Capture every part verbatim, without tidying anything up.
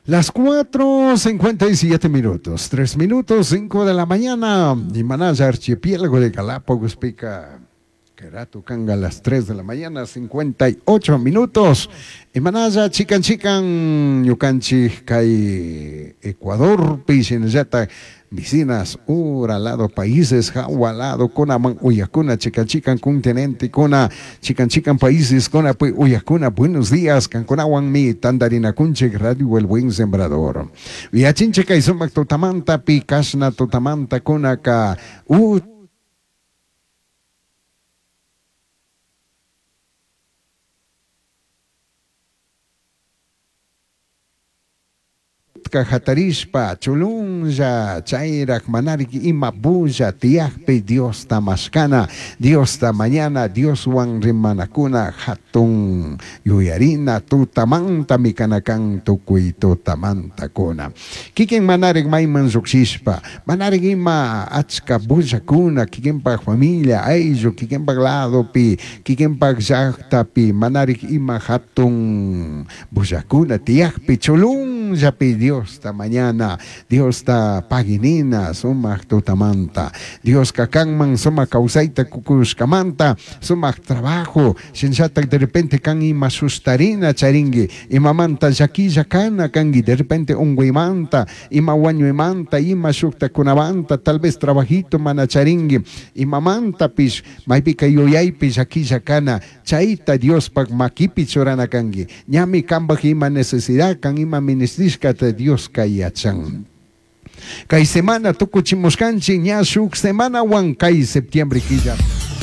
Las cuatro cincuenta y siete minutos, tres minutos, cinco de la mañana. Y Manaya, archipiélago de Galápagos, pica. Querato canga a las tres de la mañana, cincuenta y ocho minutos. Y Manaya, chican, chican, ñukanchik, kay Ecuador, pishinallata, vecinas, ura lado, países, jawa lado, kuna man, uyakuna, chican, chican, continente, kuna, chican, chican, países, kuna, pues, uyakuna, buenos días, cancunawan mi, tandarina kunchik, Radio El Buen Sembrador. Viachinche, kay sumak tutamanta, pi, kashna tutamanta, kuna, ka, u, hatarishpa chulunlla chayrak manariki ima bulla tiyakpi Dios tamashkana, Dios ta mañana, Dios wan rimanakuna hatun yuyarina tutamanta mikanakan tukuy tutamanta kuna. Kikin manarik mayman lluqshishpa manarik ima achka bullakuna kikinpak familia ayllu kikinpak ladopi kikinpak llaqtapi manarik ima hatun bullakuna tiyakpi chulunllapi Dios ta mañana, Dios ta paginina, sumaq tutamanta, Dios kakanman sumaq kawsayta kukushkamanta, sumaq trabajo, shinllatak de repente kan ima sustarina charingi, imamanta llakilla kana kangi, de repente unguymanta, ima wañuymanta, ima shuktakunamanta, tal vez trabajito mana charingi, imamantapish, maypika yuyaypi llakilla kana, chayta Diospak makipi churana kangi, ñami kanpak ima necesidad, kan ima ministrishkata Dios kayachan. Kay semana tukuchimuskanchik ña shuk semana wan kay septiembre killa.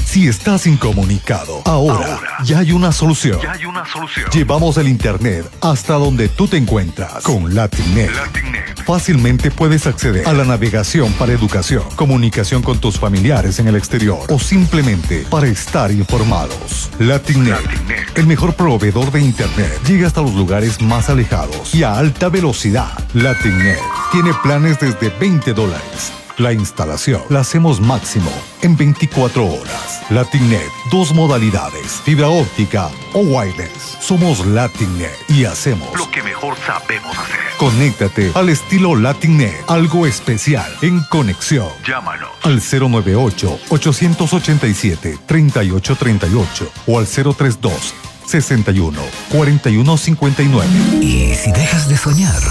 Si estás incomunicado, ahora, ahora ya hay una solución. Ya hay una solución. Llevamos el internet hasta donde tú te encuentras con LatinNet. LatinNet. Fácilmente puedes acceder a la navegación para educación, comunicación con tus familiares en el exterior o simplemente para estar informados. LatinNet, LatinNet, el mejor proveedor de internet, llega hasta los lugares más alejados y a alta velocidad. LatinNet tiene planes desde veinte dólares. La instalación la hacemos máximo en veinticuatro horas. LatinNet, dos modalidades, fibra óptica o wireless. Somos LatinNet y hacemos lo que mejor sabemos hacer. Conéctate al estilo LatinNet, algo especial en conexión. Llámanos al cero nueve ocho, ochocientos ochenta y siete, treinta y ocho treinta y ocho o al cero tres dos, sesenta y uno, cuarenta y uno cincuenta y nueve. Y si dejas de soñar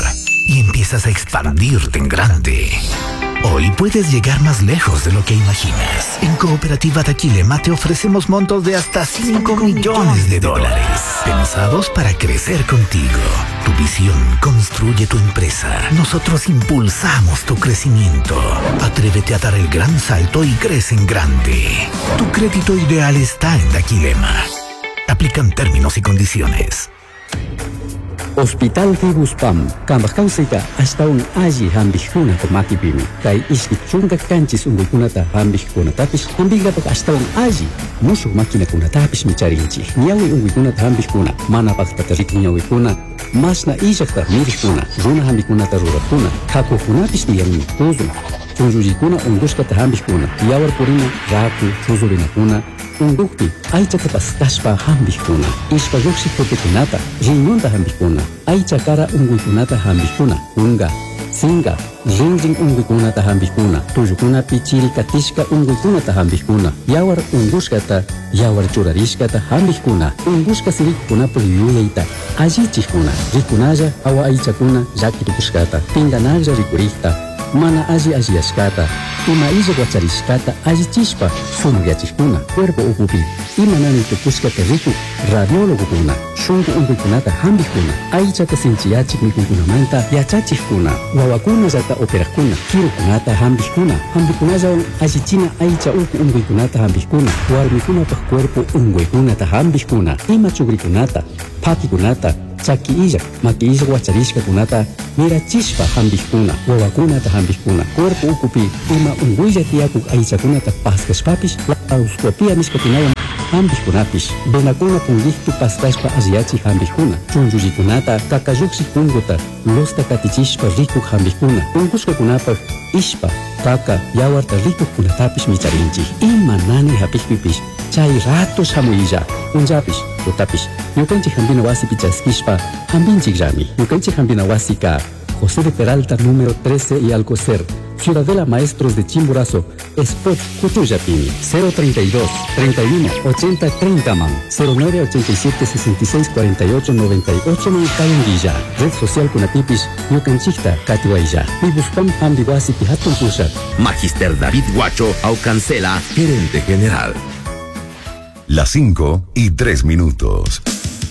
y empiezas a expandirte en grande, hoy puedes llegar más lejos de lo que imaginas. En Cooperativa Daquilema te ofrecemos montos de hasta cinco millones de dólares, pensados para crecer contigo. Tu visión construye tu empresa. Nosotros impulsamos tu crecimiento. Atrévete a dar el gran salto y crece en grande. Tu crédito ideal está en Daquilema. Aplican términos y condiciones. Hospital Fibuspam, kambaj kawsayta ashtawan alli hampikkunata makipimi. Kay ishki chunka kanchis unkuykunata hampikkunatapish hampinkapak ashtawan alli mushuk maquinakunatapish micharinchik. Ñawi unkuykunata hampikkuna, mana paktata rikun ñawikuna, mashna illakta mirikuna, runa hampikkunata rurakuna, kakukunapish tiyanmi, tuzun, chunllullikuna unkushkata hampikkuna, yawar purina, raku, chuzurinakuna, unkukpi aychata paskashpa hampikkuna, ishpa lluqshik putikunata, riñonta hampikkuna, aycha kara unkuykunata hampikkuna, kunka, sinka, rinrin unkuykunata hampikkuna, tullukunapi chiri katishka unkuykunata hampikkuna, yawar unkushkata, yawar churarishkata hampikkuna, unkushka sirikkunapak yuyayta allichikkuna, rikunalla awa aychakuna llakitukushkata, pinkanalla rikurikta, mana alli alliyashkata, ima illa wacharishkata allichishpa sumakyachikuna, cuerpo ukupi ima nani tukushkata rikuk radiólogokuna, shunku unkuykunata hampikkuna, aychata sinchiyachik mikuykunamanta yachachikkuna, wawakunallata operajkuna, kirukunata hampikkuna, hampikunallawan allichina aycha uku unkuykunata hampikkuna, warmikunapak cuerpo unkuykunata hampikkuna, ima chukrikunata, pakikunata, chaki illak, maki illak wacharishkakunata mirachishpa hampikkuna, wawakunata hampikkuna, cuerpo ukupi ima unkuylla tiyakuk aychakunata paskashpapish laparoscopia nishkakunawan hampikkunapish, venakuna punkikpi paskashpa alliyachik hampikkuna, chunllullikunata kakallukshik punkuta lusta katichishpa rikuk hampikkuna, unkushkakunapak ishpa, kaka, yawarta rikukkunatapish micharinchik. Ima nani hapikpipish Chay rato shamuylla. Punllapish, tutapish. Ñukanchik hampina wasipi chaskishpa hampinchikllami. Ñukanchik hampina wasika José de Peralta número trece y Alcocer, Ciudadela Maestros de Chimborazo, Spot Cuchuyapimi, cero treinta y dos, treinta y uno, ochenta, treinta man, cero nueve ochenta y siete, sesenta y seis, cuarenta y ocho, noventa y ocho man Kayunguilla, Red Social Kunatipis, Ñukanchikta, Katiwaya, Pibuspam Hambiwasi Pihatun Pushat. Magister David Guacho Aucancela, gerente general. Las cinco y tres minutos.